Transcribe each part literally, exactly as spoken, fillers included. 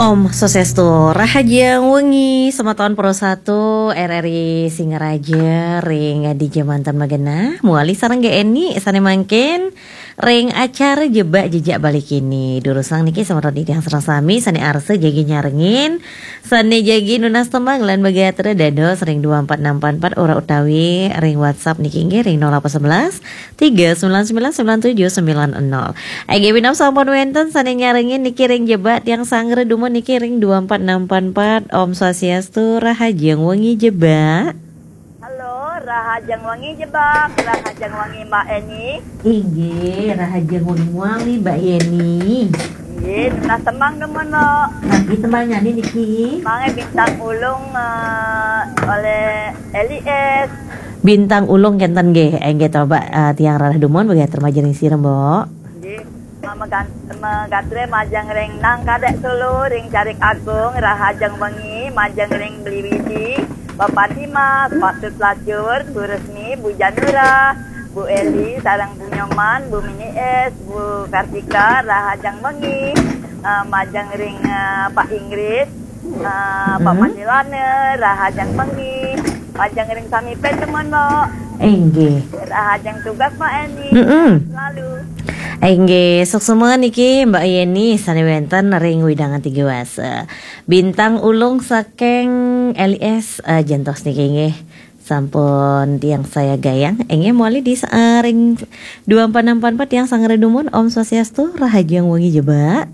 Om Swastiastu, rahajeng wengi, semeton Pro satu R R I Singaraja ring dija manten magenah, mawali sareng Gék Eni sané mangkin ring acara Jebak Jejak Bali Kini. Durusang niki semeton titiang sareng sami sané arsa jagi nyarengin, sané jagi nunas tembang lan magatra dados ring dua empat enam empat empat ora utawi ring WhatsApp niki inggih ring nol delapan sebelas tiga sembilan sembilan sembilan tujuh sembilan nol. Inggih, minab sampun wénten sané nyarengin niki ring Jebak tiang sanggra dumun niki ring dua empat enam empat empat. Om Swastiastu, rahajeng wengi Jebak. Halo, rahajeng wengi Jebak, rahajeng wengi Mbak Eni. Inggih, rahajeng wengi mawali Mbak Yeni. Inggih, nunas tembang dumun, Mbak. Napi tembangnyané niki? Mangé Bintang Ulung, eh, oleh Eli S. Bintang Ulung kénten nggih. Inggih to, Mbak, eh, tiang rarah dumun, bagi termajeng ring sira, Mbok. Nggih. Megan-, magatra majeng ring Nang Kadek Solo, ring Carik Agung, rahajeng wengi, majeng ring Beli Widi, Bapak Dimas, Pak Sut Pelacur, Bu Resmi, Bu Janura, Bu Eli, sareng Bu Nyoman, Bu Mini S, Bu Kartika, rahajeng wengi, eh, majeng ring, eh, Pak Ingrid, eh, Pak Manilana, rahajeng wengi, majeng ring sami ped temen, Mbok. Inggih. Rahajeng tugas, Mbak Eni. Mm-mm. Selalu. Inggih, suksma niki Mbak Yeni sané wénten ring wewidangan Tiga Wasa. Bintang Ulung saking L I S, eh, jantos niki inggih. Sampun tiang sayagayang, inggih mawali di sa-, eh, ring dua empat enam empat empat tiang sanggra dumun. Om Swastiastu, rahajeng wengi Jebak.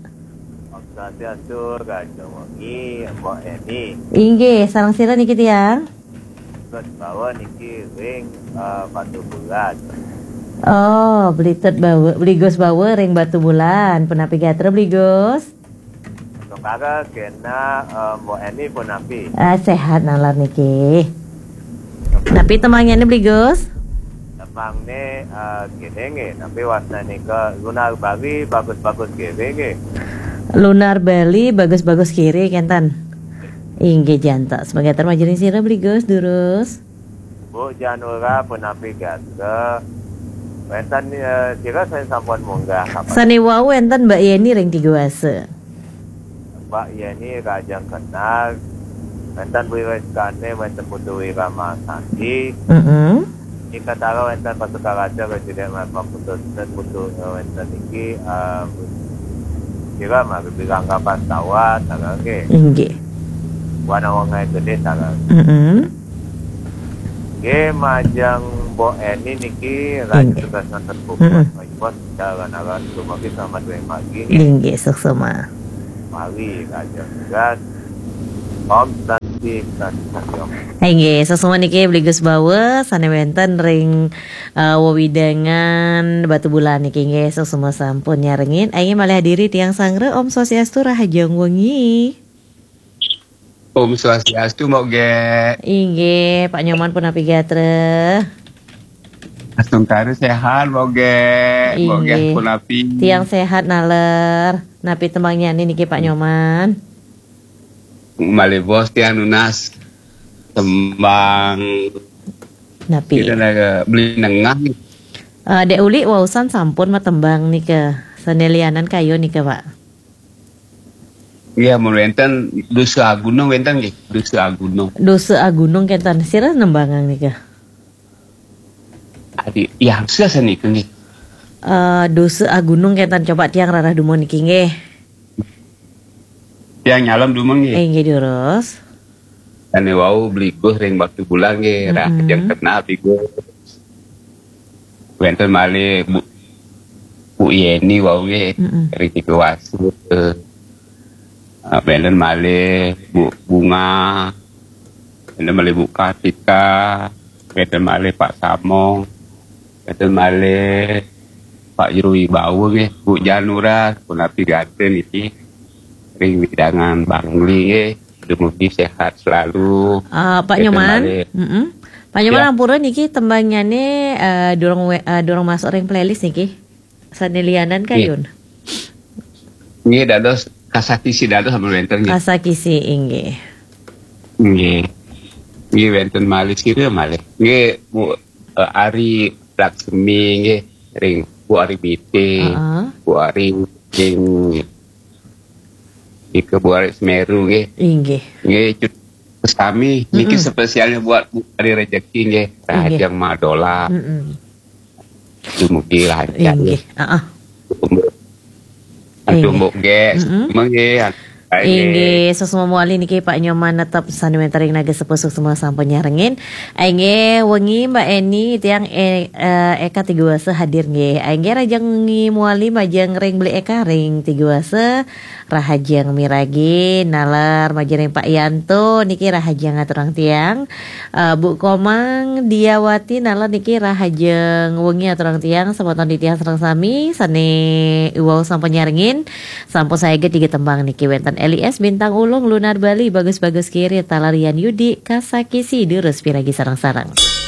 Om Swastiastu, rahajeng wengi, Mbok Eni. Inggih, sareng sira niki tiang? Gus Bawa niki ring, eh, Batu Bulan. Oh, Beli Tut Bawa, Beli Gus Bawa ring Batu Bulan. Punapi gatra Beli Gus? Tukara kena, eh, Mbok Eni punapi? Ah, sehat nalar niki. Napi tembangnyané Beli Gus? Tembangné, eh, kéné nggih, napi wastané nika Lunar Bali bagus-bagus kiri nggih. Lunar Bali bagus-bagus kiri kénten. Inggih jantos. Mangga termajeng ring sira Beli Gus, durus. Bu Janura punapi gatra. Wénten, eh, sira sané sampun munggah kapan? Sané wau wénten Mbak Yeni ring Tiga Wasa. Mbak Yeni rahajeng kenal. Wénten Bu Rizkane, wénten Putu Wiramasati. Mm-mm. Ing Katara wénten Pak Sukaraja, Presiden Mata Putu, Putu, eh, wénten niki, eh, sira mah bilang kapan tawat, sareng nggih. Inggih. Wana Wongai Gede, sareng. Mm-mm. Nggih, majeng Mbok Eni niki, Raja Inggih. Tugas Nonton Buku, Mm-mm. Mas Bos, jalan aran, dumugi selamat ring margi, nggih. Inggih, suksma. Mari, Raja Tugas. Om Santi, Santi, Santi, Om. Inggih, suksma niki Beli Gus Bawa, sane wenten ring, eh, wewidangan Batubulan niki, nggih, suksma sampun nyarengin. Inggih, malih hadiri tiang sanggra, Om Swastiastu, rahajeng wengi. Om Swastiastu, Mbok Ge. Inggih, Pak Nyoman punapi gatra? Astungkara sehat, Mbok Ge. Mbok Ge Inggih. Punapi? Tiang sehat naler. Napi tembangnyané niki, Pak Nyoman? Malih bos tiang nunas tembang. Napi? Kita dah beli nengah. Eh, Dek Uli wausan sampun matembang nika. Sane lianan kayun nika, Pak. Iya, mun wenten Dosa Agunung wenten nggih, Dosa Agunung. Dosa Agunung kenten. Sira nembangang nika? Adi, ya, sira sanika nggih. Eh, Dosa Agunung kenten, coba tiang rarah dumun niki nggih. Tiang nyalem dumun nggih. Eh, nggih, durus. Sane wau Beli Gus ring Batubulan nggih, rah Mm-mm. Jeng Kenal Beli Gus. Wenten malih Bu, Bu Yeni wau nggih, Mm-mm. ring Tiga Wasa. Ah, wenten malih Bu Bunga, wenten malih Bu Kartika, wenten malih Pak Samong, wenten malih Pak Jero Wibawa nggih, Bu Janura, punapi gatra niki ring wewidangan Bangli nggih. Dumugi sehat selalu. Ah, Pak Wenten Nyoman, malih. Mm-mm. Pak Nyoman, ya. Ampura niki tembangnyane, eh, durung we-, eh, durung masuk ring playlist niki. Sane lianan Nggih. Kayun? Nggih, dados Kasakisi dados sampun wenten nggih. Kasakisi, inggih. Nggih. Nggih, wenten malih sira malih. Nggih, Bu, eh, Ari Laksmi nggih, ring Bu Ari Mite, Heeh. Bu Ari ring, Nika buat Semeru nggih. Inggih. Nggih, cut sami niki spesialnya buat Bu Hari Rezeki nggih. Rahajeng Madola. Mm-mm. Dumugi lancar. Inggih. Heeh. Tumbuk nggih. Mengke. Inggih, suksma malih niki Pak Nyoman, tetep sami wénten ring Naga Sepuh, suksma sampun nyarengin. Inggih, wengi Mbak Eni, tiang eh, eh, Eka Tiguasa hadir nggih. Inggih, rahajeng wengi malih majeng ring Beli Eka ring Tiguasa, rahajeng miragi, naler majeng ring Pak Yanto niki rahajeng aturang tiang. Eh, Bu Komang Diawati naler niki rahajeng wengi aturang tiang, semeton titiang sareng sami sané wau sampun nyarengin. Sampun saget tiga tembang niki, wénten L I S Bintang Ulung, Lunar Bali, Bagus-Bagus Kiri, taler Yan Yudi, Kasakisi, durus piragi sareng-sareng.